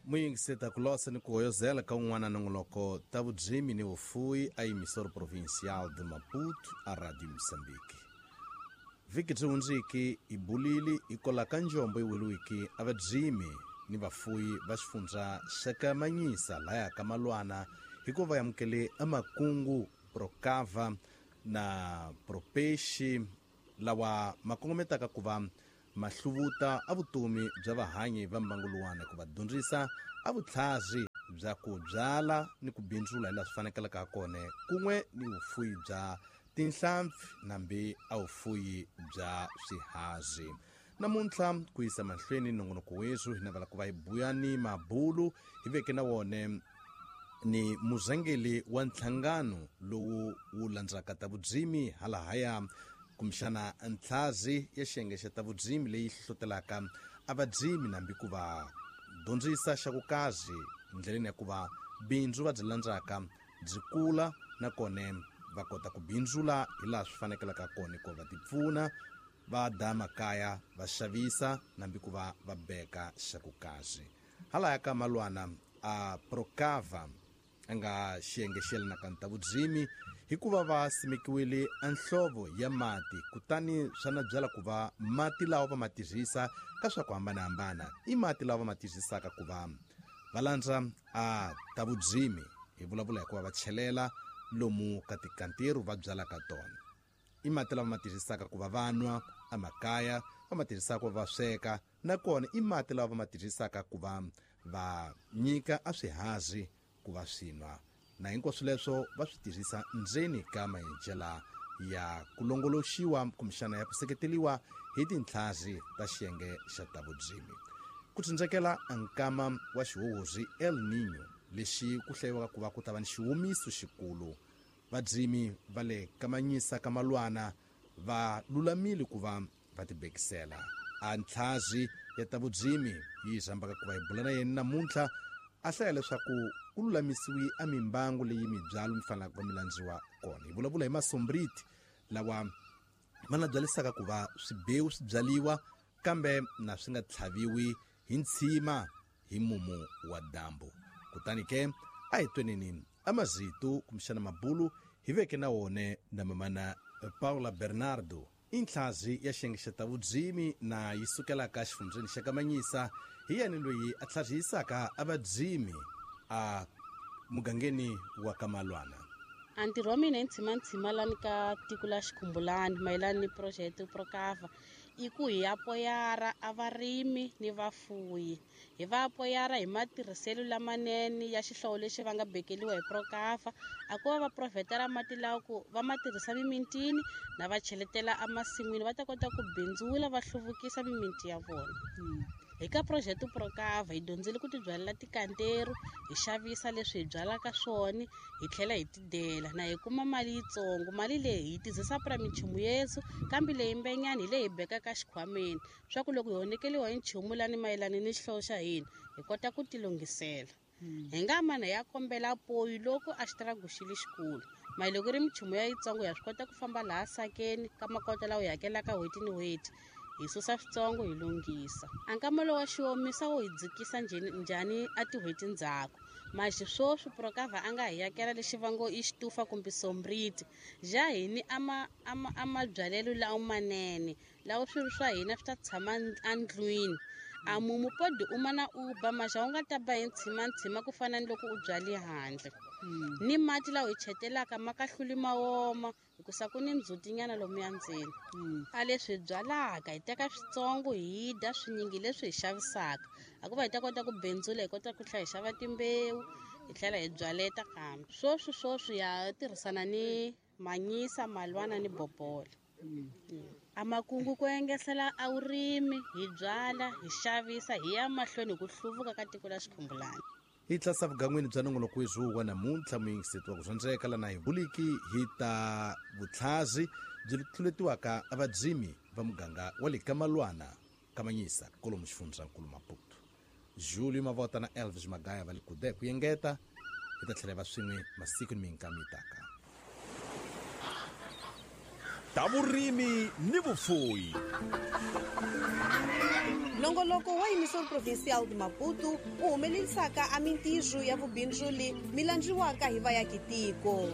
Muyingiseta ku losa ni ku hoyozela ka un'wana nongoloko ta vudzimi ni vufuwi a emissora provincial de Maputo a Radio Moçambique. Vhiki byi hundziki hi bulili hi kola ka njombo yi weliwiki a vadzimi ni vafuwi va xifundza xa ka Manyisa laya ka Malwana hikuva va amukele amakungu Procava na Propeixe lawa ma kongometaka ku va ma hluvuta a vutomi bya vahanyi va mbangu luwani ku va dyondzisa a vutlhari bya ku byala ni ku bindzula hi laha swi fanekelaka ha kona kun'we ni vufuwi bya tinhlampfi nambi a vufuwi bya swihazi. Namuntlha ku yisa mahlweni nongonoko wethu hi navela ku va hi buya ni mabulu hi veke na wone ni murhangeri wa nhlangano lowu wu landzaka ta vudzimi halahaya kumbexana ntlhazi ya xiyenge xa ta vudzimi leyi hlohlotelaka a vadzimi nambi ku va dyondzisa xa ku kazi ndleleni ya ku va bindzu va byi landzaka byi kula nakona va kota ku bindzula hi laha swi fanekelaka kona ku va tipfuna va da makaya va xavisa nambi ku va va beka xa ku kazi. Halaya ka Malwana a Procava a nga xiyenge xi yelanaka ni ta vudzimi hikuva va simekiwile enhlovo ya mati kutani swa na byala ku va mati lawa va ma tirhisa ka swa ku hambanahambana i mati lawa va ma tirhisaka ku va va landza a ta vudzimi hi vulavula hikuva va chelela lomu ka tikantiru va byalaka tona i mati lava ma tirhisaka ku va va nwa emakaya va ma tirhisaka ku va va sweka nakona i mati lawa va ma tirhisaka ku va va nyika a swihazi ku va swi nwa na hinkwaswo leswo va swi tirhisa ndzeni ka maendlela ya ku longoloxiwa kumbexana ya ku seketeliwa hi tintlhazi ta xiyenge xa ta vudzimi. Ku tsindzekela nkama wa xihuhuri El Niño lexi ku hlayiwaka ku va ku ta va ni xihumiso xikulu vadzimi va le kamanyisa ka Malwana va lulamile ku va va tibekisela. A ntlhazi ya ta vudzimi yi rhambaka ku va hi bula na yena namuntlha a hlaya leswaku ku lulamisiwi a mimbangu leyi mibyalo mi fanelaka ku va mi landziwa kona. Hi vulavula hi masombriti lawa ma na byalisaka ku va swibewu swi byaliwa kambe na swi nga tlhaviwi hi ntshima hi mumu wa dyambu. Kutani ke a hi tweneni a mazito kumbexana mabulu hi veke na wone na mamana Paula Bernardo i ntlhazi ya xiyenge xa ta vudzimi na yi sukelaka xifundzeni xa Kamanyisa hi yena loyi a tlharihisaka a vadzimi a mugangeni wa ka Malwana. A ntirho wa mina hi ntshima lani ka tiko la Xikhumbulani mayelana ni project Procava i ku hi apoyara a varimi ni vafuyi. Hi va apoyara hi matirhiselo lamanene ya xihlovo lexi va nga bekeliwa hi Procava a ku va va provetela mati lawa ku va ma tirhisa mimintini na va cheletela emasin'wini va ta kota ku bindzula va hluvukisa miminti ya vona. Hi ka project Procava hi dyondzile ku tibyalela tikanteru hi xavisa leswi hi byalaka swona hi tlhela hi tidela na hi kuma mali yitsongo. Mali leyi hi yi tirhisa pra minchumu yethu kambe leyi mbenyani hi leyi hi bekaka xikhwameni swa ku loko hi honekeliwa hi nchumu lani mayelana ni xihlovo xa hina hi kota ku tilunghisela. Hi nga mana ya kombela poyi loko a xitiragu xi li xikulu mali loko ri minchumu ya yitsongo ya swi kota ku famba laha sakeni ka makota lawa hi hakelaka n'hweti ni n'hweti hi susa switsongo hi lunghisa. A nkama lowa xiomisa wo hi dzikisa njhani a tin'hweti ndzhaku maxi swoswi Procava a nga hi yakela lexi va ngo i xitufa kumbe sombriti ja hini a mabyalelo lawa manene lawa swilo swa hina swi ta tshama endlwini. A mumu podi u mana u ba maxa u nga ta ba hi ntshima ku fana ni loko u byale handle. Ni mati lawa hi chetelaka ma kahluli ma woma hikusa ku ni ndzhutinyana lomuya ndzeni. A leswi hi byalaka hi teka switsongo hi dya swinyingi leswi hi xavisaka a ku va hi ta kota ku bindzula hi kota ku tlhela hi xava timbewu hi tlhela hi byaleta kambe swoswi ya tirhisana ni Manyisa, Malwana ni Bobola. A makungu ku engesela a vurimi hi byala hi xavisa hi ya mahlweni hi ku hluvuka ka tiko la Xikhumbulani. Hi tlasa vugan'wini bya nongoloko wethu wa namuntlha muyingiseti wa ku dyondzeka lana hi buliki hi ta vutlhazi byi tluletiwaka a vadzimi va muganga wa le Kamalwana Kamanyisa kolomu xifundzankulu Maputo. Julio Mavota na Elvis Magaya va le kude ku yengeta hi ta tlhela va swin'we masiku ni minkama yi taka. Ta vurimi ni vufuyi. Nongoloko wa Emissora Provincial de Maputo wu humelelisaka a mintirho ya vubindzuli mi landziwaka hi vayakitiko.